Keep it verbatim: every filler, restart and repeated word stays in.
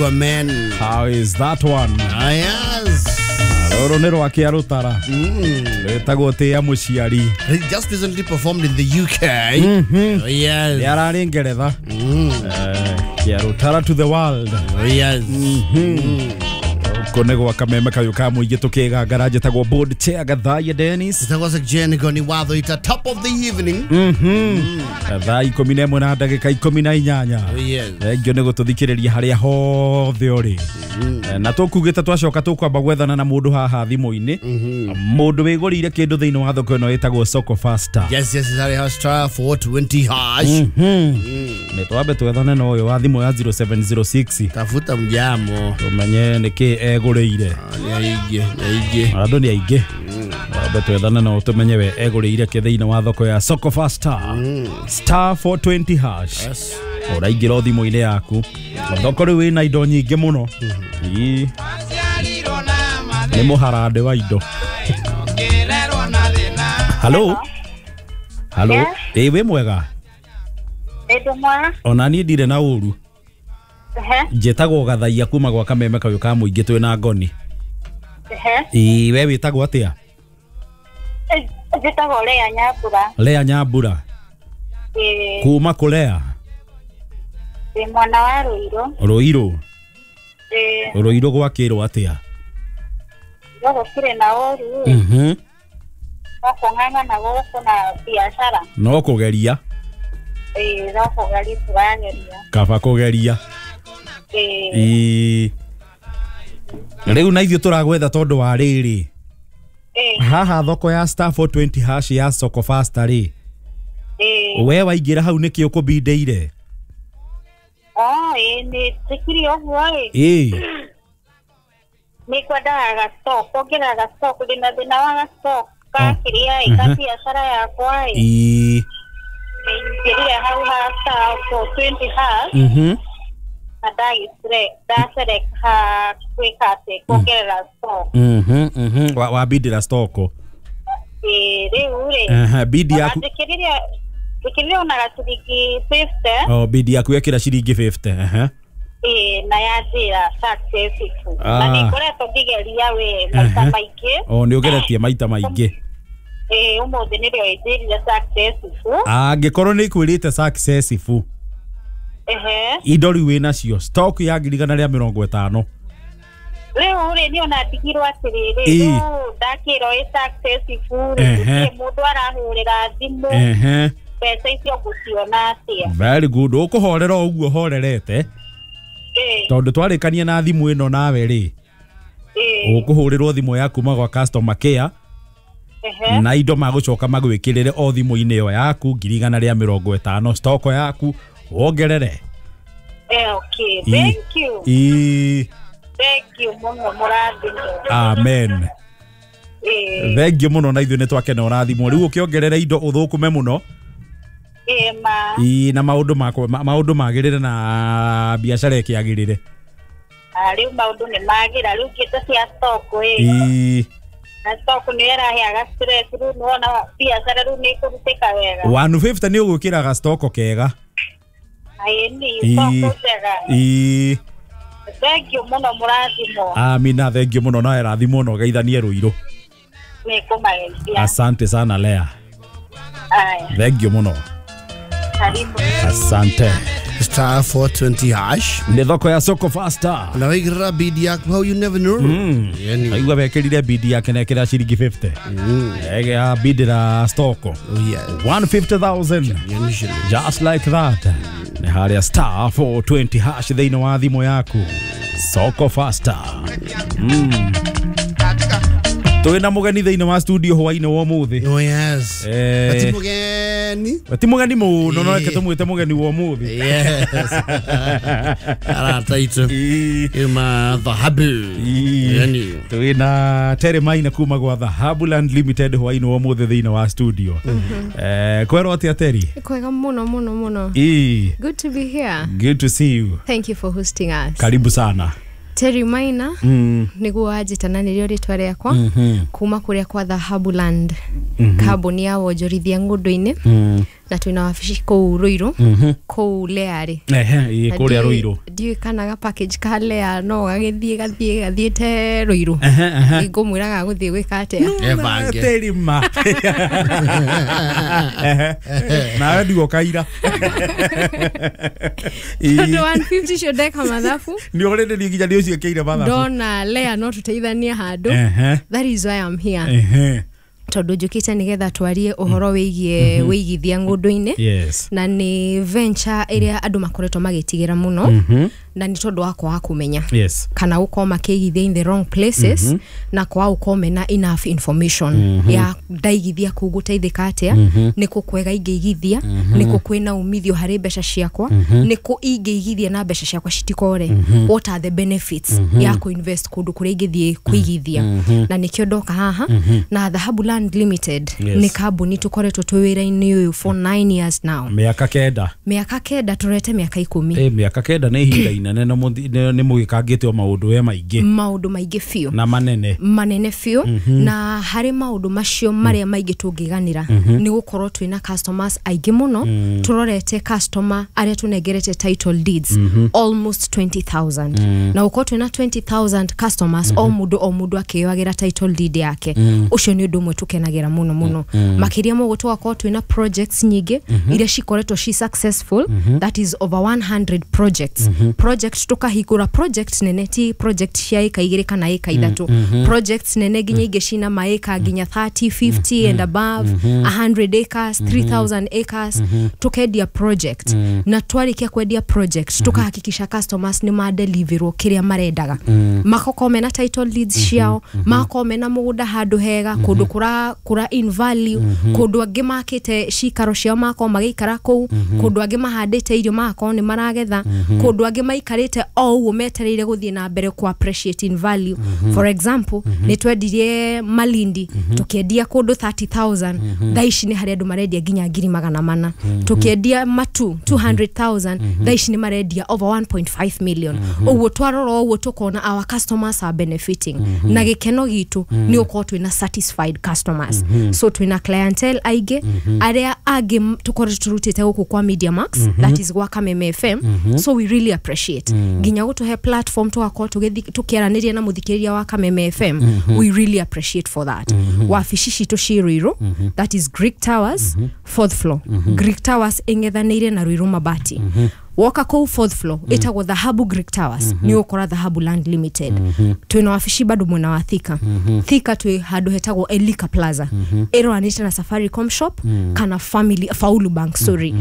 Man. How is that one? Ah, yes. Rũrũ nĩ rwa Kĩarũtara. Mm. Rwĩtagwo Tĩa Mũciari. He just recently performed in the U K. Mm-hmm. Oh, yes. Nĩ ararĩ Ngeretha. Mm. Eh, Kĩarũtara to the world. Oh, yes. Mm-hmm. Gũkũ nĩ gwa kameme kayũ ka mũingĩ tũkĩgangara njĩtagwo board chair Gathaiya Dennis. Njĩtagwo Jane Goni Watho ita top of the evening. Mm-hmm. Thaa ikũmi na ĩmwe na ndagĩka ikũmi na inyanya. Oh, yes. Thengio nĩ gũtũthikĩrĩria harĩa hothe ũrĩ. Na tũkugĩte twacoka tũkwamba gwethana na mũndũ haha thimũ-inĩ. Mũndũ wĩgũrĩire kĩndũ thĩinĩ wa thoko ĩno ĩtagwo Soko Faster. Yes, yes, it's star four twenty hash. Nĩ twambe twethane na ũyũ wa thimũ ya zero seven zero six. Tafuta mjamo. Tũmenye nĩkĩ egũrĩire. Nĩ aingĩ, nĩ aingĩ. Andũ nĩ aingĩ. Twambe twethane na tũmenye we egũrĩire kĩ thĩinĩ wa thoko ya Soko Faster. Star four twenty hash. Yes. Ũraingĩra thimũ-inĩ yaku. Thoko rĩu ĩna indo nyingĩ mũno. Ii. Nĩ mũharande wa indo. Hello. Hello. Yes. Ĩ wĩ mwega? Ĩ mwega. Ona niĩ ndirĩ na ũru. Ehe. Njĩtagwo Gathaiya kuma gwa kameme kayũ ka mũingĩ twĩ na Ngoni. Ehe. Ĩ we wĩtagwo atĩa? Njĩtagwo Lea Nyambura. Lea Nyambura. Ĩ. Kuma kũ Lea? Ĩ mwena wa Ruiru. Ruiru. Ĩ. Ruiru gwakĩrwo atĩa? Gũkĩrĩ na ũru. Mhm. No kũng'ang'ana gũkũ na biacara. No kũgeria. Ĩ no kũgeria tũrageria. Kaba kũgeria. Ĩ. Ĩ. Rĩu na ithuĩ tũragwetha tondũ wa rĩrĩ. Ĩ. Haha thoko ya star four twenty hash ya Soko Faster rĩ. Ĩ. We waingĩra hau nĩkĩ ũkũbindĩire? Oh, ĩ nĩ njĩkire ũguo ĩ. Ĩ. Nĩ kwendaga ga stock, kuongerera ga stock, ndĩna thĩna wa ga stock ka kĩrĩa ĩ, ka biacara yakwa ĩ. Ĩ. Nĩingĩrire hau ha star four twenty hash. Mhm. Na ndaselect ha gwĩka atĩ kuongerera stock. Mhm, mhm. Wa wabindĩra stock. Ĩ rĩu rĩ. Aha, bidi yaku. Njĩkĩrire njĩkĩrire ona gaciringi fifty. Oh, bidi yaku yekĩra ciringi fifty. Aha. Ĩ na yanjĩra successful. Na Ah. nĩngoretwo ngĩgeria we maita maingĩ. Oh, nĩ ũgeretie maita maingĩ. Ĩ ũmũthĩ nĩrĩo ĩnjĩrire successful. Angĩkorwo nĩ ĩkwĩrĩte successful. Ehe. Indo rĩu wĩnacio stock ya ngiri igana rĩa mĩrongo ĩtano. Rĩu rĩ niĩ ona ndigirwo atĩrĩrĩ, Ĩ. rĩu ndakĩrwo ĩ successful rĩ, Ehe. gũtirĩ mũndũ arahũrĩra thimũ. Ehe. Mbeca icio ngũciona atĩa? Very good. Ũkũhorera o ũguo horerete. Ĩ. Tondũ twarĩkania na thimũ ĩno nawe rĩ. Ĩ. Ũkũhũrĩrwo thimũ ya kuma gwa customer care. Ehe. Na indo magũcoka magwĩkĩrĩre o thimũ-inĩ ĩyo yaku ngiri igana rĩa mĩrongo ĩtano stock yaku wongerere. Eh, okay. Thank you. Ĩ. Thank you mũno mũrathimwo. Amen. Ĩ. Thank you mũno na ithuĩ nĩ twakena ũrathimwo. Rĩu ũkĩongerera indo ũthũkũme mũno. Ĩ ma. Ĩ na maũndũ makwa maũndũ magĩrĩre na biacara ĩkĩagĩrĩre. Ah, rĩu maũndũ nĩ magĩra rĩu ngĩte cia stock ĩ. Ĩ. Na stock nĩ ĩraheaga stress rĩu nĩwona biacara rĩu nĩ ĩkũrutĩka wega. one fifty nĩ ũgwĩkĩra ga stock kega. Ĩ nĩ stock njega. Ĩ. Thank you mũno mũrathimwo. Amina, thank you mũno nawe rathimwo na ũgeithanie Ruiru. Nĩ kũmageithia. Asante sana Lea. Aya. Thank you mũno. Karibu. Asante. Star four twenty hash. Nĩ thoko ya Soko Faster. Na wĩkĩrĩra bidi yaku hau you never know. Mm. Yani. Aigua wekĩrire bidi yake na ĩkĩra ciringi fifty. Mm. Ege bidira stock. Oh yeah. one fifty thousand. Just like that. Nĩ harĩa star four twenty hash thĩinĩ wa thimũ yaku. Soko Faster. Mm. Twĩna mũgeni thĩinĩ wa studio hwainĩ wa ũmũthĩ. Oh yes. Eh. Ati mũgeni. Ti mũgeni mũno no reke tũmwĩte mũgeni wa ũmũthĩ. Yes. Arata itũ. Ima Dhahabu. Yani. Twĩna Terry Maina kuma gwa Dhahabu Land Limited hwainĩ wa ũmũthĩ thĩinĩ wa studio. Eh, kwerwo atĩa Terry? Kwega mũno mũno mũno. Ĩ. Good to be here. Good to see you. Thank you for hosting us. Karibu sana. Terry Maina mm. niguo wanjĩtana nĩrĩo rĩtwa rĩakwa mm -hmm. kuma kũrĩa kwa Dhahabu Land mm -hmm. kambuni ya wonjorithia ng'ũndũ-inĩ mm. Na twĩna wabici kũu Ruiru, kũu Learĩ. Ehe, ĩ, kũrĩa Ruiru. Ndiũĩ kana ga package ka Lea no gagĩthiĩ gathiĩ gathiĩte Ruiru. Ehe, ehe. Ngũmwĩra gagũthiĩ gwĩka atĩa. Ebange. Terima. Ehe. Nawe ndigwo kaira. Tondũ one fifty cio ndeka mathabu. Nĩ ũrĩ nĩ nginya nĩ ũciĩkĩire mathabu. Ndona Lea no tũteithanie handũ. Ehe. That is why I'm here. Ehe. Tondũ njũkĩte nĩgetha twarie ũhoro wĩgiĩ wĩigithia ng'ũndũ-inĩ. Yes. Na nĩ venture ĩrĩa andũ makoretwo magĩtigĩra mũno, na nĩ tondũ wa kwaga kũmenya Yes. kana gũkorwo makĩigithia in the wrong places, na kwaga gũkorwo mena enough information ya ndaigithia kũu gũteithĩka atĩa, nĩ kũ kwega ingĩigithia, nĩ kũ kwĩna umithio harĩ mbeca ciakwa, nĩ kũ ingĩigithia na mbeca ciakwa citikore, what are the benefits ya kũinvest kũndũ kũrĩa ingĩthiĩ kũigithia. Na nĩkĩo ndoka haha na Dhahabu Land Limited. Yes. Nĩ kambuni tũkoretwo twĩ wĩra-inĩ ũyũ for nine years now. Mĩaka kenda. Mĩaka kenda, tũrete mĩaka ikũmi. Ĩ, mĩaka kenda nĩ ihinda inene na mũthi- nĩ nĩ mũgĩkangĩte o maũndũ we maingĩ. Maũndũ maingĩ biũ. Na manene. Manene biũ. Na harĩ maũndũ macio marĩa maingĩ tũngĩganĩra nĩ gũkorwo twĩna customers aingĩ mũno. Tũrorete customer arĩa tũnengerete title deeds almost twenty thousand, na gũkorwo twĩna twenty thousand customers, o mũndũ o mũndũ akĩyoagĩra title deed yake, ũcio nĩ ũndũ ũmwe tũkenagĩra mũno mũno. Makĩria ma ũguo, tũgakorwo twĩna projects nyingĩ iria cikoretwo ci successful, that is over one hundred projects. Project tũkahingũra project nene, ti project cia ĩka igĩrĩ kana ĩka ithatũ, projects nene nginya ingĩ cina maĩka nginya thirty, fifty and above, one hundred acres, three thousand acres. Tukendia project, na twarikia kwendia project tukahakikisha customers nĩ madeliverwo kĩrĩa marendaga, makokorwo mena title deeds ciao, magakorwo mena mũgũnda handũ hega, kũndũ kũra kũra in value, kũndũ angĩ makĩte cikaro ciao magakorwo magĩikara kũu, kũndũ angĩ mahandĩte irio magakorwo nĩ maragetha, kũndũ angĩ maikarĩte o ũguo metereire gũthiĩ na mbere ku appreciate in value. For example, nĩ twendirie Malindi, tũkĩendia kũndũ thirty thousand, thaa ici nĩ harĩ andũ marendia nginya ngiri magana mana. Tũkĩendia Matu two hundred thousand, thaa ici nĩ marendia over one point five million. Ũguo twarora ũguo tũkona our customers are benefiting, na gĩkeno gitũ nĩ ũkorwo twĩna satisfied customers. So twĩna clientele aingĩ arĩa angĩ tũkoretwo tũrutĩte gũkũ kwa Media Max, that is gwa Kameme F M. So we really appreciate nginya gũtũhe platform tũgakorwo tũgĩthi- tũkĩaranĩria na mũthikĩrĩria wa Kameme F M. We really appreciate for that. Wabici citũ ciĩ Ruiru, that is Greek Towers, fourth floor. Greek Towers ĩng'ethanĩire na Ruiru Mabati. Woka kũu fourth floor, ĩtagwo Dhahabu Greek Towers, nĩ ũkora Dhahabu Land Limited. Twĩna wabici bado mwena wa Thika. Thika twĩ handũ hetagwo Elika Plaza, ĩroranĩte na Safaricom shop kana Family Faulu Bank, sorry.